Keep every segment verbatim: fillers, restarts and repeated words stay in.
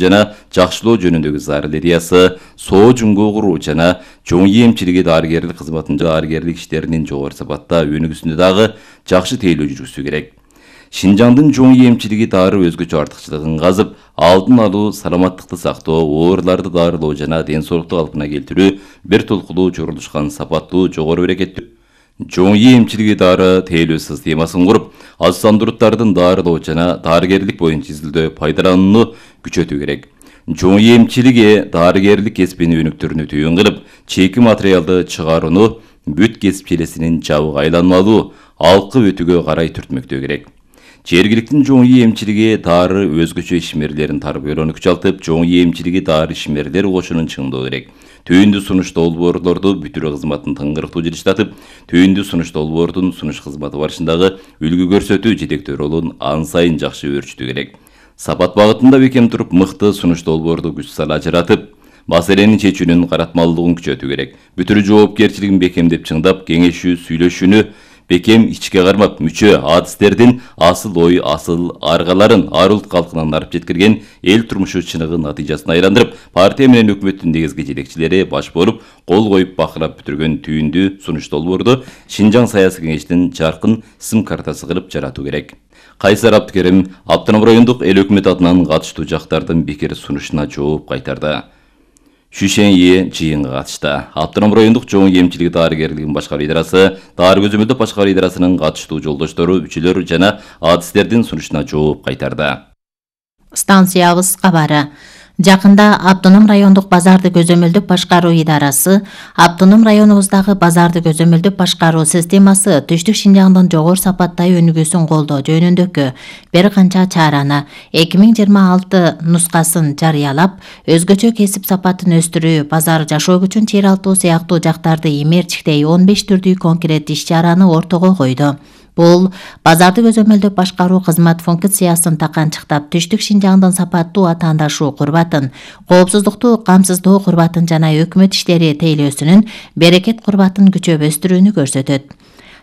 жана жакшылоо жөнүндөгү зарыл идеясы, соо жумгу куруу жана чоң эмчилиги дарыгерлик кызматынын дарыгерлик иштеринин жогору сапатта өнүгүүсүндө дагы жакшы тейлөө жүргүзүү керек. Шинжаңдын чоң эмчилиги дары өзгөчө артыкчылыгын казып, алдын алуу, саламаттыкты сактоо, ооруларды дарылоо жана ден соолукту калпына келтирүү бир толкулуу чогулушкан сапаттуу, жогору берекеттүү чоң эмчилиги дары тейлөө системасын куруп, аз сандууруттардын дарылоо жана дарыгерлик боюнча изилдөө пайдаланууну күчөтүү керек. Чоң эмчилиги дарыгерлик кесибини өнүктүрүүнү түйүн кылып, чейки материалды чыгарууну бүт кесип желесинин жабык айланмалуу алкы өтүүгө карай түртмөктөө керек. Жергиликтин чоң эмчилиги дары өзгөчө ишмерлерин тарбиялоону күчалтып, чоң эмчилиги дары ишмерлер кошунун чыңдоо керек. Түйүндүү сунуш долбоорлорду бүтүрүү кызматын тыңгырыктуу жылыштатып, түйүндүү сунуш долбоордун сунуш кызматы барышындагы үлгү көрсөтүү жетектөө ролун ан сайын жакшы өөрчүтүү керек. Сапат багытында бекем туруп, мыкты сунуш долбоорду күч сала ажыратып, маселени чечүүнүн каратмалуулугун күчөтүү керек. Бүтүрүү жоопкерчилигин бекемдеп чыңдап, кеңешүү, сүйлөшүүнү бекем ичке кармап, мүчө адистердин асыл ой, асыл аргаларын ар улут калкынан арып жеткирген эл турмушу чыныгы натыйжасына айландырып, партия менен өкмөттүн негизги жетекчилери баш болуп, кол коюп бакырап бүтүргөн түйүндүү сунуш долбоорду Шинжаң саясий кеңештин жаркын сым картасы кылып жаратуу керек. Кайсар Абдыкерим Автоном райондук эл өкмөт атынан катыштуу жактардын пикир сунушуна жооп кайтарды. Шүшенье жыйынга катышты. Автоном райондук чоң эмчилиги дарыгерлигин башкаруу идарасы, дары көзөмөлдөө башкаруу идарасынын катыштуу жолдоштору, үчүлөр жана адистердин сунушуна жооп кайтарды. Станциябыз кабары. Жакында Автоном райондук базарды көзөмөлдөп башкаруу идарасы Автоном районубуздагы базарды көзөмөлдөп башкаруу системасы түштүк Шинжаңдын жогору сапаттай өнүгүүсүн колдоо жөнүндөгү бир канча чараны эки миң жыйырма алты нускасын жарыялап, өзгөчө кесип сапатын өстүрүү, базар жашоо күчүн чыйралтуу сыяктуу жактарды имерчиктей он беш түрдүү конкрет иш-чараны ортого койду. Бул базарды көзөмөлдөп башкаруу кызмат функциясын таканчыктап, түштүк Шинжаңдын сапаттуу атаандашуу курбатын, коопсуздукту камсыздоо курбатын жана өкмөт иштери тейлөөсүнүн берекет курбатын күчөп өстүрүүнү көрсөтөт.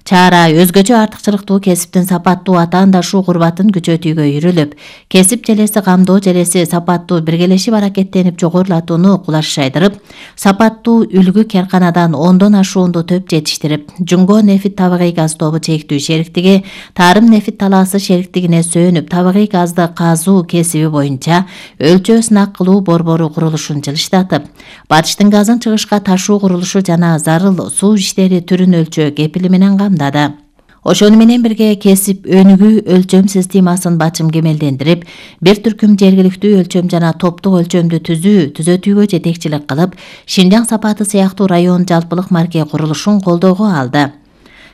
Чара өзгөчө артыкчылыктуу кесиптин сапаттуу атаандашуу курбатын күчөтүүгө үйрүлүп, кесип желеси камдоо желеси сапаттуу биргелешип аракеттенип жогорулатууну кулаш шайдырып, сапаттуу үлгү керканадан ондон ашуунду төп жетиштирип, Жумго нефит табигый газ тобу чектүү шериктиги Тарым нефит талаасы шериктигине сөөнүп, табигый газды казуу кесиби боюнча өлчөө сынак кылуу борбору курулушун жылыштатып, батыштын газын чыгышка ташуу курулушу жана зарыл суу иштери түрүн өлчөө кепили менен камдады. Ошону менен бирге кесип өнүгүү өлчөм системасын бачым кемелдендирип, бир түркүм жергиликтүү өлчөм жана топтук өлчөмдү түзүү, түзөтүүгө жетекчилик кылып, Шинжаң сапаты сыяктуу район жалпылык марке курулушун колдоого алды.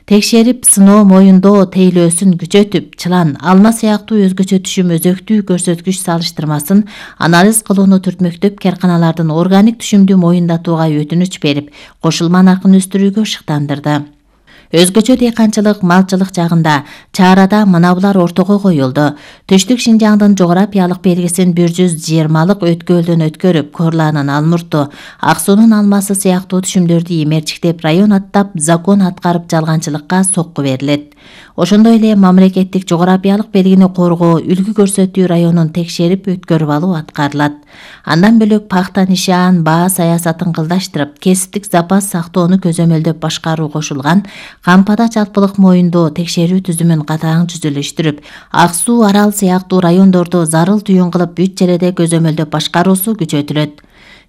Текшерип, сыноо, моюндоо тейлөөсүн күчөтүп, чылан, алма сыяктуу өзгөчө түшүм өзөктүү көрсөткүч салыштырмасын анализ кылууну түртмөктөп, керканалардын органик түшүмдү моюндатууга өтүнүч берип, кошулма наркын өстүрүүгө шыктандырды. Өзгөчө дыйканчылык, малчылык жагында чарада мына булар ортого коюлду. Түштүк Шинжаңдын жографиялык белгисин бир жүз жыйырмалык өткөлдөн өткөрүп, Корланын алмурту, Ак суунун алмасы сыяктуу түшүмдөрдү имерчиктеп, район аттап, закон аткарып жалганчылыкка сокку берилет. Ошондой эле мамлекеттик жографиялык белгини коргоо, үлгү көрсөтүү районун текшерип өткөрүп алуу аткарылат. Андан бөлөк пахта нишаан баа саясатын кылдаштырып, кесиптик запас сактоону көзөмөлдөп башкаруу кошулган кампада жалпылык моюндоо текшерүү түзүмүн катаң жүзүлүштүрүп, Ак суу, Арал сыяктуу райондорду зарыл түйүн кылып бүт жерде көзөмөлдөп башкаруусу күчөтүлөт.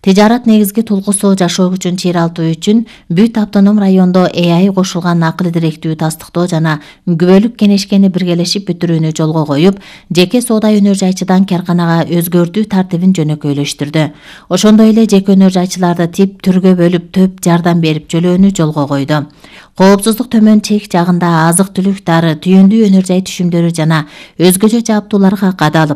Тижарат негизги тулгусу жашоо күчүн чыйралтуу үчүн бүт автоном райондо э а и кошулган акыл директүү тастыктоо жана күбөлүк кенешкени биргелешип бүтүрүүнү жолго коюп, жеке соода өнөр жайчыдан керканага өзгөртүү тартибин жөнөкөйлөштүрдү. Ошондой эле жеке өнөр жайчыларды тип түргө бөлүп, төп жардам берип жөлөөнү жолго койду. Коопсуздук төмөн чек жагында азык түлүк, дары, түйүндүү өнөр жай түшүмдөрү жана өзгөчө жабдууларга кадалып,